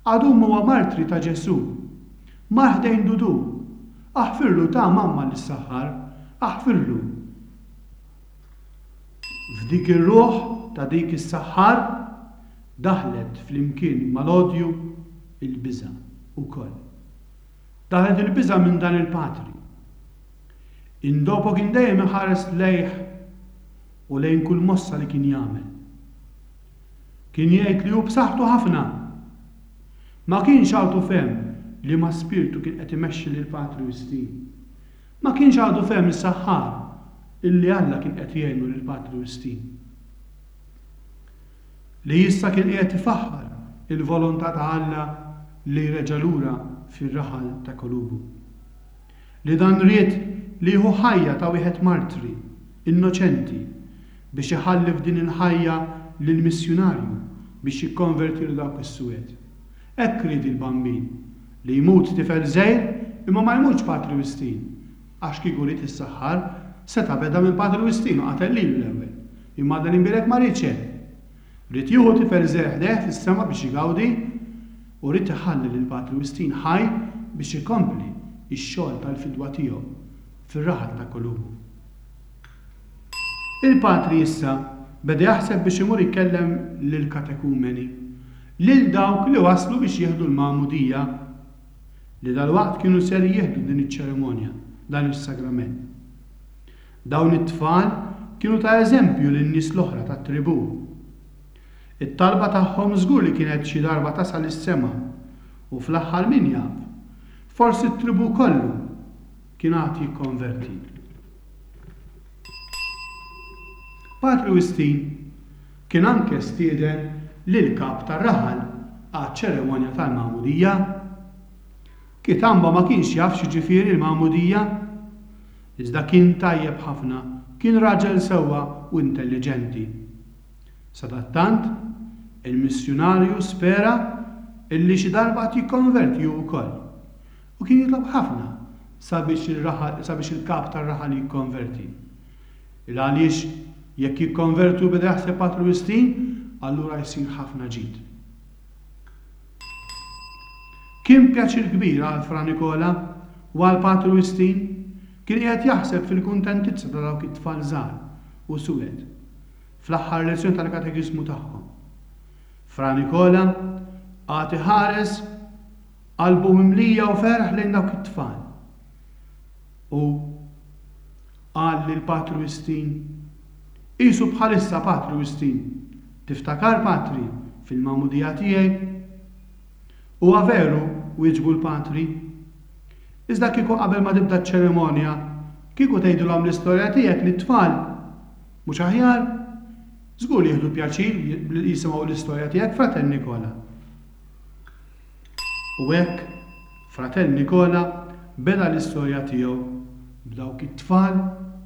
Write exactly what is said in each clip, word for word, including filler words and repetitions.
Għadum huwa martri ta' Ġesù. Mar ħdejn Dudu. Aħfirlu ta' mamma lis-saħħar, aħfirlu. F'dik ir-ruħ ta' dik is-saħħar daħlet flimkien mal-odju il-biża' ukoll. Daħlet il-biża' minn dan il-patri. Indopo kien dejjem iħares lejh u lejn kull mossa li kien jagħmel. Kien jgħid li hu b'saħħtu ħafna. Ma kienx għadu fehem li ma spirtu kien qed imexxi lil Patri Wistin. Ma kienx għadu fehem is-saħħar illi Alla kien qed jgħinu lil Patri Wistin. Li issa kien qiegħed ifaħħar il-volontà ta' Alla li reġa' lura fir-raħal ta' Kolubu. Li dan ried li jieħu ħajja ta' wieħed martri, innoċenti, biex iħalli f'din il-ħajja lill-missjunarju biex jikkonvertilu dawk is-suwed. Hekk ried il-Bambin, li jmut tifel żgħir imma ma jmutx Patri Wistin, għax kieku ried is-saħħar seta' beda minn Patri Wistin u qatel lilu l-ewwel. Imma Alla l-Imbierek ma riedx hekk. Ried jieħu tifel żgħir ħdejh fis-sema biex igawdi u ried iħalli lil Patri Wistin ħaj biex ikompli x-xogħol tal-fidwa tiegħu fir-raħal ta' Kolubu. Il-patri issa beda jaħseb biex imur ikellem lill-katekumeni, lil dawk li waslu biex jieħdu l-magħmudija, li dalwaqt kienu ser jieħdu din iċ-ċerimonja, dan is-sagrament. Dawn it-tfal kienu ta' eżempju lin-nies l-oħra tat-tribù. It-talba tagħhom żgur li kienet xi darba tasal is-sema u fl-aħħar min jaf, forsi t-tribù kollu kien għad jikkonverti. Patri Wistin kien anke stieden lill-kap tar-raħal għaċ-ċerimonja tal-magħmudija. Kitamba ma kienx jaf x'jiġifieri l-magħmudija, iżda kien tajjeb ħafna, kien raġel sewwa u intelliġenti. Sadattant, il-missjunarju spera illi xi darba għad jikkonverti hu wkoll, u kien jitlob ħafna sabiex ir-raħal sabiex il-kap tar-raħal jikkonverti. Il għaliex jekk jikkonvertu beda jaħseb Patri Wistin, allura jsir ħafna ġid. Kien pjaċir kbir għal Fra Nikola u għal Patri Wistin, kien qiegħed jaħseb fil-kuntentizza ta' dawk it-tfal żgħar u suwed fl-aħħar lezzjoni tal-katekiżmu tagħhom. Fra Nikola qagħad iħares qalbu mimlija u ferħ lejn dawk it-tfal. U qal lil Patri Wistin, Qisu bħalissa Patri Wistin, tiftakar Patri fil-magħmudija tiegħi? Huwa veru, wieġbu l-Patri. Iżda kieku qabel ma tibda ċ-ċerimonja, kieku tgħidilhom l-istorja tiegħek lit-tfal, mhux aħjar? Żgur li jieħdu pjaċir jisimgħu l-istorja tiegħek, Fratell Nikola. U hekk, Fratell Nikola beda l-istorja tiegħu b'dawk it-tfal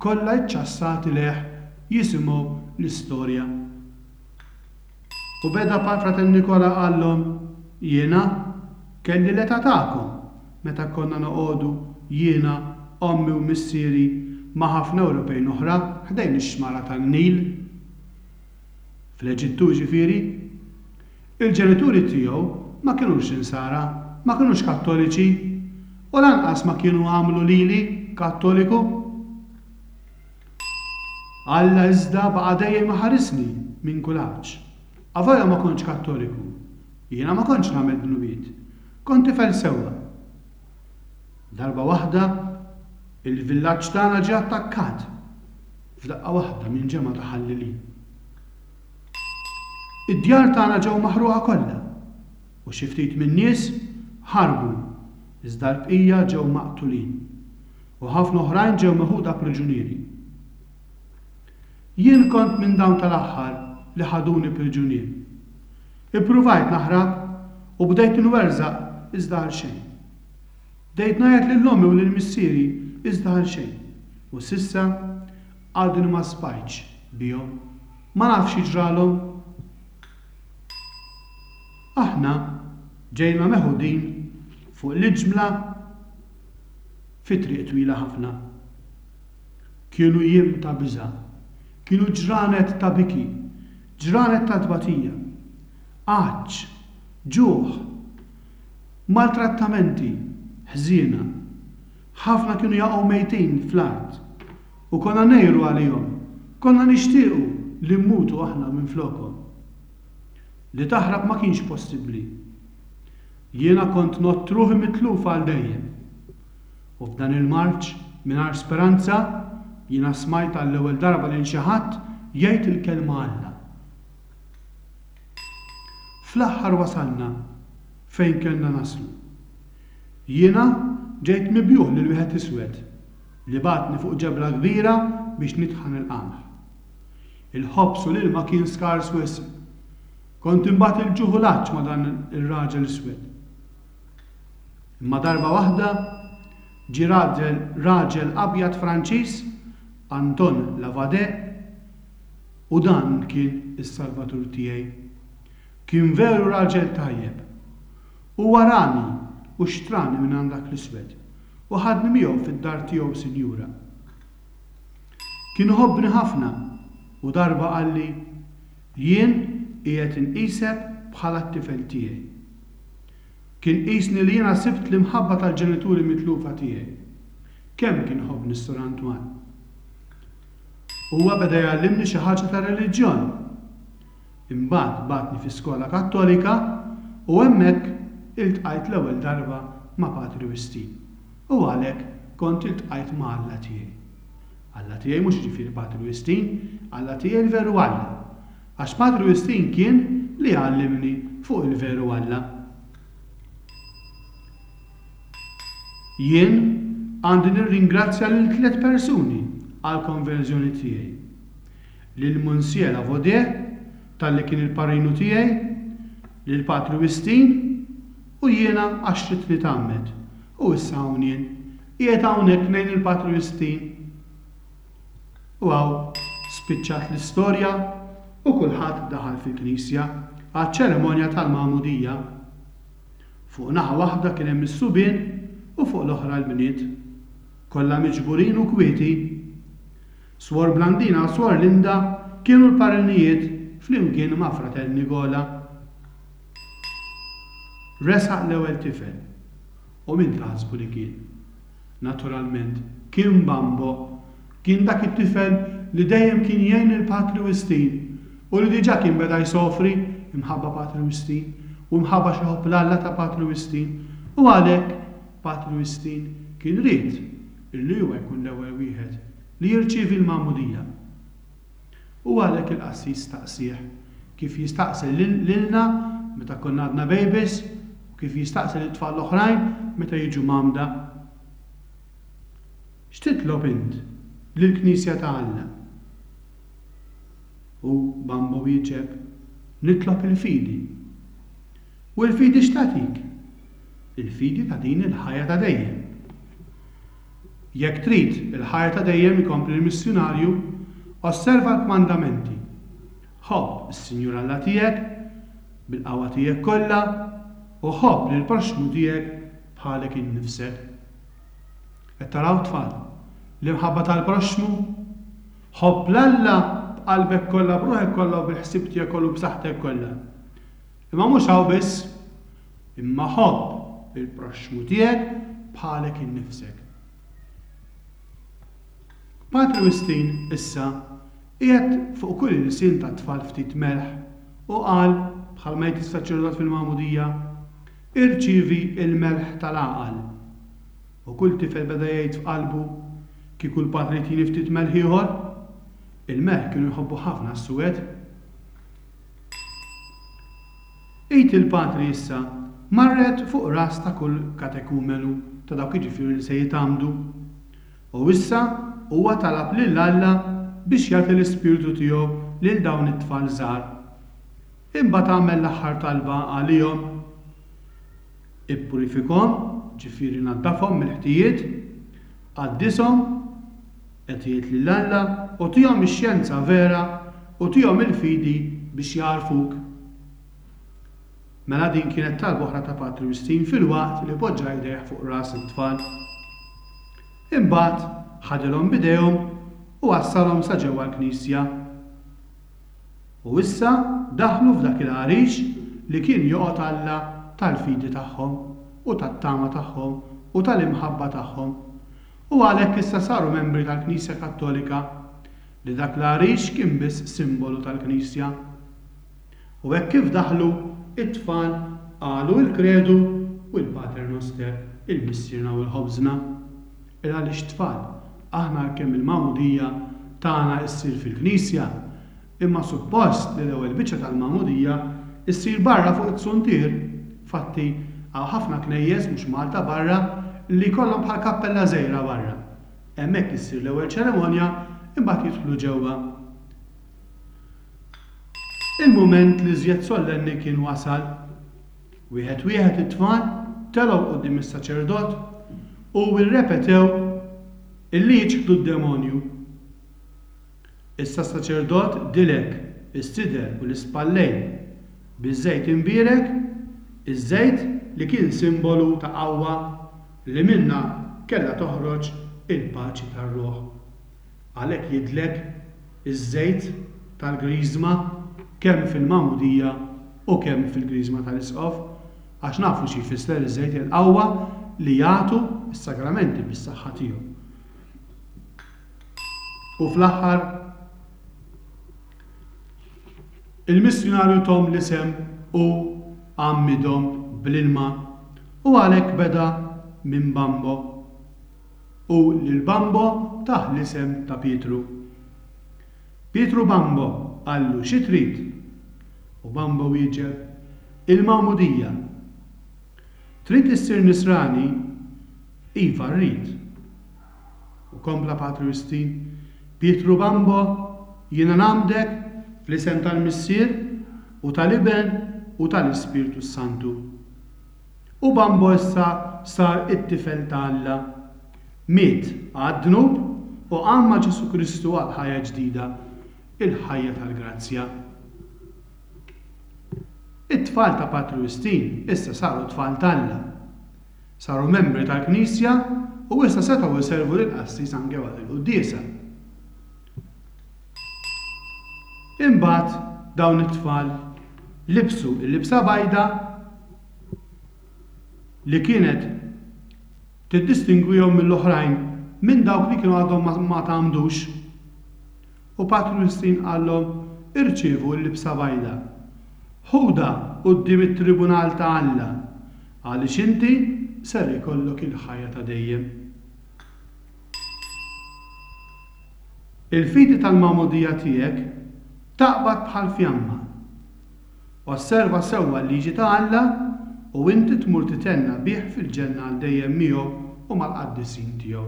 kollha ċċassati lejh jisimgħu l-istorja. U beda Fratell Nikola qallhom, Jiena kelli l-età tagħkom meta konna noqogħdu jiena, ommi u missieri ma' ħafna Ewropejn oħra ħdejn ix-xmara tan-Nil. Fl-Eġittu jiġifieri. Il-ġenituri tiegħu ma kinux Insara, ma kinux Kattoliċi, u lanqas ma kienu għamlu lili Kattoliku. Alla iżda baqa' dejjem iħarisni minn kull għatx. Avolja ma kontx Kattoliku, jiena ma kontx nagħmel dnubiet. Kont tifel sewwa. Darba waħda, il-villaġġ tagħna ġie attakkat f'daqqa waħda minn ġemgħa ta' ħallelin. Id-djar tagħna ġew maħruqa kollha u xi ftit min-nies ħarbu iżda l-bqija ġew maqtulin u ħafna oħrajn ġew meħuda priġunieri. Jien kont minn dawn tal-aħħar li ħaduni priġunier. Ippruvajt naħrab u bdejt inwerżaq iżda għalxejn. Bdejt ngħajjat lil ommi u lil missieri iżda għalxejn. U s'issa għadni ma sbajtx bihom. Ma nafx xi ġralhom. Aħna ġejna meħudin fuq l-iġmla fi triq twila ħafna. Kienu jiem ta' biża', kienu ġranet ta' biki, ġranet ta' tbatija, għatx, ġuħ, Maltrattamenti ħżiena. Ħafna kienu jaqgħu mejtin fl-art u konna ngħiru għalihom. Konna nixtiequ li mmutu aħna minflokhom. Li taħrab ma kienx possibbli. Jiena kont ngħodd ruħi mitluf għal dejjem. U f'dan il-marċ mingħajr speranza jiena smajt għall-ewwel darba lil xi ħadd jgħid il-kelma Alla. Fl-aħħar wasalna fejn kellna naslu. Jiena ġejt mibjugħ lil wieħed iswed li bagħatni fuq ġebla kbira biex nitħan il-qamħ. Il-ħobż u l-ilma kien skars wisq. Kont imbagħad il-ġuħ u l-għatx ma' dan ir-raġel iswed. Imma darba waħda ġie raġel raġel abjad Franċiż, Anton Lavade, u dan kien is-salvatur tiegħi. Kien veru raġel tajjeb. Huwa rani u xtrani minn għand dak l-iswed u ħadni miegħu fid-dar tiegħu sinjura. Kien iħobbni ħafna u darba qalli, jien qiegħed inqisek bħala t-tifel tiegħi. Kien qisni li jiena sibt l-imħabba tal-ġenituri mitlufa tiegħi. Kemm kien iħobbni s-Sur Antoine. Huwa beda jgħallimni xi ħaġa ta' reliġjon. Imbagħad bagħatni fi skola Kattolika u hemmhekk iltqajt l-ewwel darba ma' Patri Wistin. U għalhekk kont iltqajt ma' Alla tiegħi. Alla tiegħi mhux jiġifieri Patri Wistin, Alla tiegħi l-veru Alla. Għax Patri Wistin kien li għallimni fuq il-veru Alla. Jien għandi nirringrazzja lil tliet persuni għall-konverżjoni tiegħi. Lil Monsieur Lavaudet talli kien il-parrinu tiegħi, lil Patri Wistin u jiena għax ridt nitgħammed. U issa hawn jien, qiegħed hawnhekk ngħin il-Patri Wistin. U hawn spiċċat l-istorja u kulħadd daħal fil-knisja għaċ-ċerimonja tal-magħmudija. Fuq naħa waħda kien hemm is-subien u fuq l-oħra l-bniet. Kollha miġburin u kwieti. Swor Blandina u Swor Linda kienu l-parrinijiet flimkien ma' Fratel Nigola. Resaq l-ewwel tifel. U min taħsbu li kien? Naturalment, kien Bambo. Kien dak it-tifel li dejjem kien jgħin lil Patri Wistin u li diġà kien beda jsofri imħabba Patri Wistin u imħabba xi ħobb l-Alla ta' Patri Wistin u għalhekk Patri Wistin kien ried illi huwa jkun l-ewwel wieħed li jirċievi l-magħmudija. U għalhekk il-qassis staqsieh kif jistaqsi lilna meta konna għadna babies u kif jistaqsi lit-tfal l-oħrajn meta jiġu mgħammda. X'titlob int lill-Knisja ta' Alla? U Bambo wieġeb, Nitlob il-fidi. U l-fidi x'tagħtik? Il-fidi tagħtini l-ħajja ta' dejjem. Jekk trid il-ħajja ta' dejjem, ikompli l-missjunarju, osserva l-kmandamenti. Ħobb is-Sinjur Alla tiegħek bil-qawwa tiegħek kollha u ħobb lill-proxxmu tiegħek bħalek innifsek. Qed taraw tfal, l-imħabba tal-proxxmu? Ħobb 'l Alla b'qalbek kollha, b'ruħek kollha u bil-ħsieb tiegħek kollu u b'saħħtek kollha. Imma mhux hawn biss, imma ħobb il-proxxmu tiegħek bħalek innifsek. Patri Wistin issa qiegħed fuq kull ilsien tat-tfal ftit melħ u qal, bħalma jgħid is-saċerdot fil-magħmudija, Irċievi l-melħ tal-għaqal. U kull tifel beda jgħid f'qalbu, Kieku l-patri jtini ftit melħ ieħor? Il-melħ kienu jħobbuh ħafna s-suwed. Id il-patri issa marret fuq ras ta' kull katekumenu ta' dawk jiġifieri li se jitgħammdu. U issa huwa talab lil Alla biex jagħti l-Ispirtu tiegħu lil dawn it-tfal żgħar. Imbagħad għamel l-aħħar talba għalihom. Ippurifikhom, ġifieri naddafhom mill-ħtijiet, qaddishom, qed jgħid lil Alla, u tihom ix-xjenza vera u tihom il-fidi biex jagħrfuk. Mela din kienet talba oħra ta' Patri Wistin filwaqt li poġġa jdejh fuq ras it-tfal. Imbagħad ħadilhom b'idejhom u wassalhom sa ġewwa l-knisja. U issa daħlu f'dak il-għarix li kien joqgħod Alla tal-fidi tagħhom. u tat-tama tagħhom u tal-imħabba tagħhom. U għalhekk issa saru membri tal-Knisja Kattolika, li dak l-għarix kien biss simbolu tal-Knisja. U hekk kif daħlu, it-tfal qalu l-Kredu u l-Pater Noster, il-Missierna u l-Ħobżna. Il għaliex tfal, aħna għalkemm il-magħmudija tagħna ssir fil-Knisja, imma suppost li l-ewwel biċċa tal-magħmudija ssir barra fuq it-suntier. Fatti, hawn ħafna knejjes mhux Malta barra li jkollhom bħal kappella żgħira barra. Hemmhekk issir l-ewwel ċerimonja, imbagħad jidħlu ġewwa. Il-mument li żjed sollenni kien wasal. Wieħed wieħed it-tfal telgħu quddiem is-saċerdot u rrepetew illi jiċħdu d-demonju. Issa s-saċerdot dilek is-sider u l-ispallejn biż-żejt imbierek, iż-żejt li kien simbolu ta' qawwa li minna kellha toħroġ il-paċi tar-ruħ. Għalhekk jidlek iż-żejt tal-griżma kemm fil-magħmudija u kemm fil-griżma tal-isqof, għax nafu xi jfisser iż-żejt, il-qawwa li jagħtu s-sagramenti bis-saħħa tiegħu. U fl-aħħar il-missjunarju tom l-isem u għammidhom bl-ilma, u għalhekk beda minn Bambo, u lil Bambo tah l-isem ta' Pietru. Pietru Bambo qallu xi trid? U Bambo wieġeb, il-magħmudija. Trid issir nisrani? Iva rrid. U kompla Patri Wistin, Pietru Bambo, jiena nagħmdek fl-isem tal-Missier u tal-Iben u tal-Ispirtu Santu. U Bambo issa sar it-tifel ta' Alla. Miet għad-dnub u qam ma' Ġesu Kristu għal ħajja ġdida, il-ħajja tal-grazzja. It-tfal ta' Patri Wistin issa saru tfal t'Alla. Saru membri tal-Knisja u issa setgħu jservu lill-qassis anke waqt il-quddiesa. Imbagħad dawn it-tfal libsu l-libsa bajda li kienet tiddistingwihom mill-oħrajn, minn dawk li kienu għadhom ma, ma tgħammdux. U Patri Wistin qallhom, irċievu l-libsa bajda. Ħuda quddiem it-tribunal ta' Alla, għaliex inti ser ikollok il-ħajja ta' dejjem. Il-fidi tal-magħmudija tiegħek taqbad bħal fjamma. Osserva sewwa l-liġi ta' Alla u inti tmur titenna bih fil-ġenna għal dejjem miegħu u mal-qaddisin tiegħu.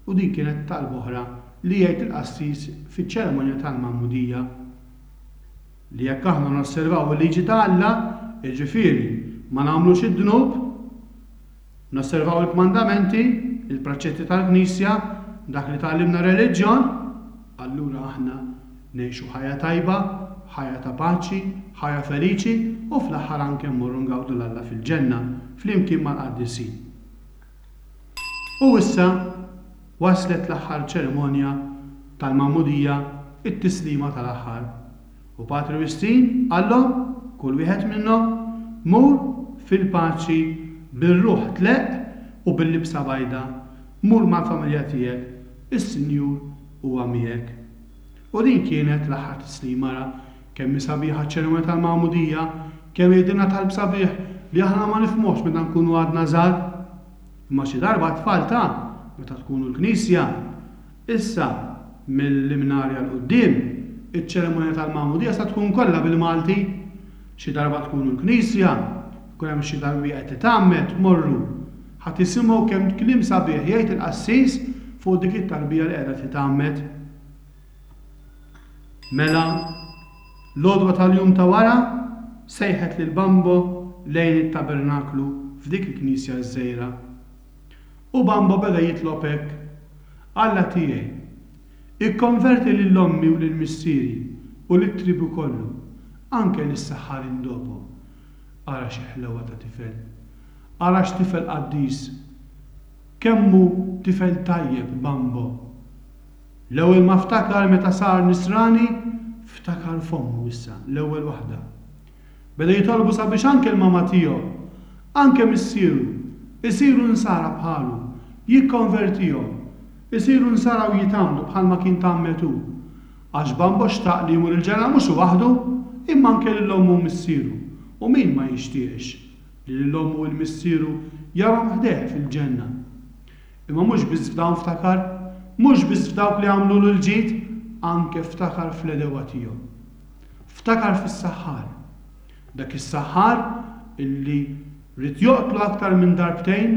U din kienet talba oħra li jgħid il-qassis fiċ-ċerimonja tal-magħmudija, li jekk aħna nosservaw il-liġi ta' Alla, jiġifieri ma nagħmlux id-dnub, nosservaw il-kmandamenti, il-preċetti tal-Knisja, dak li tgħallimna reliġjon, allura aħna ngħixu ħajja tajba, ħajja ta' paċi, ħajja feliċi, u fl-aħħar anke mmorru ngawdu l-Alla fil-ġenna flimkien mal-qaddisin. U issa waslet l-aħħar ċerimonja tal-magħmudija, it-tislima tal-aħħar. U Patri Wistin qallhom, kull wieħed minnhom, mur fil-paċi bir-ruħ tleqq u bil-libsa bajda, mur mal-familja tiegħek, is-Sinjur huwa miegħek. U din kienet l-aħħar tislima. Ra kemm hi sabiħa ċ-ċerimonja tal-magħmudija, kemm jgħidilna talb sabiħ li aħna ma nifhmux meta nkunu għadna żgħar. Imma xi darba tfal ta' meta tkunu l-Knisja, issa mill-imnarja l quddiem, iċ-ċerimonja tal-magħmudija sa tkun kollha bil-Malti. Xi darba tkunu l-Knisja, jkun hemm xi tarbija qed titgħammed, morru. Ħa tisimgħu kemm kliem sabiħ jgħid il-qassis fuq dik it-tarbija li qiegħda titgħammed. Mela, l-għodwa tal-jum ta' wara sejħet lil Bambo lejn it-tabernaklu f'dik il-knisja ż-żgħira. U Bambo beda jitlob hekk: Alla tiegħi, ikkonverti lil ommi u lil missieri u lit-tribu kollu, anke lis-saħħarin dopo. Ara xi ħlewa ta' tifel. Ara x'tifel qaddis. Kemm hu tifel tajjeb Bambo. L-ewwel ma ftakar meta sar nisrani, ftakar f'ommu issa, l-ewwel waħda. Beda jitolbu sabiex anke l-mama tiegħu, anke missieru, isiru nsara bħalu, jikkonvertihom, isiru nsara u jitgħammdu bħalma kien tgħammed hu. Għax Bambo xtaq li jmur il-ġenna mhux waħdu, imma anke lil ommu u missieru. U min ma jixtieqx li lil ommu u l-missieru jarhom ħdejh fil-ġenna? Imma mhux biss f'dawn ftakar, mhux biss f'dawk li għamlulu l-ġid, anke ftakar fl-għedewwa tiegħu. Ftakar fis-saħħar. Dak is-saħħar illi ried joqtlu aktar minn darbtejn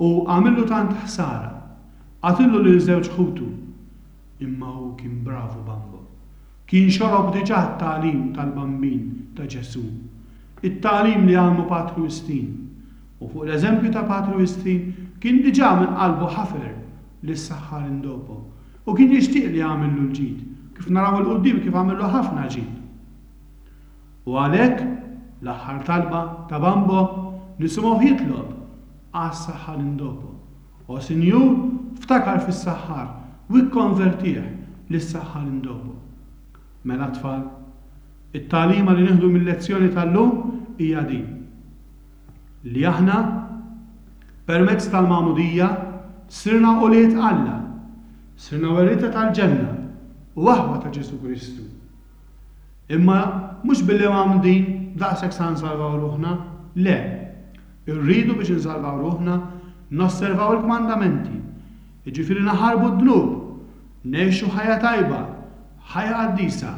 u għamillu tant ħsara. Qatillu lil żewġ ħutu. Imma hu kien bravu Bambo. Kien xorob diġà t-tagħlim tal-Bambin ta' Ġesù. It-tagħlim li għallmu Patri Wistin. U fuq l-eżempju ta' Patri Wistin kien diġà minn qalbu ħafer lis-saħħar Indopo. U kien jixtieq li jagħmillu l-ġid, kif naraw 'il quddiem kif għamillu ħafna ġid. U għalhekk l-aħħar talba ta' Bambo nisimgħuh jitlob għas-saħħar Indopo. O Sinjur, ftakar fis-saħħar u ikkonvertih lis-saħħar Indopo. Mela tfal, it-tagħlima li nieħdu mill-lezzjoni tal-lum hija din. Li aħna permezz tal-magħmudija sirna ulied Alla, sirna werrieta tal-ġenna u aħwa ta' Ġesù Kristu. Imma mhux billi mgħammdin daqshekk sa nsalvaw ruħna, le. Irridu biex insalvaw ruħna nosservaw il-kmandamenti, jiġifieri naħarbu d-dnub, ngħixu ħajja tajba, ħajja qaddisa,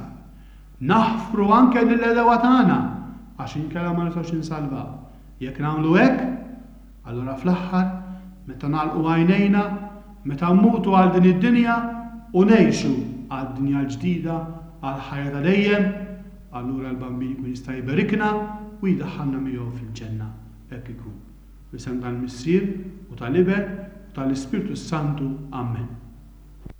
naħfru anke lill-għedewwa tagħna għax inkella ma nistgħux insalvaw. Jekk nagħmlu hekk, allura fl-aħħar meta nagħlqu għajnejna, meta mmutu għal din id-dinja u ngħixu għad-dinja l-ġdida, għal ħajja ta' dejjem, allura l-Bambin jkun jista' jberikna u jdaħħalna miegħu fil-ġenna. Hekk ikun. F'isem tal-Missier u tal-Iben u tal-Ispirtu Santu. Amen.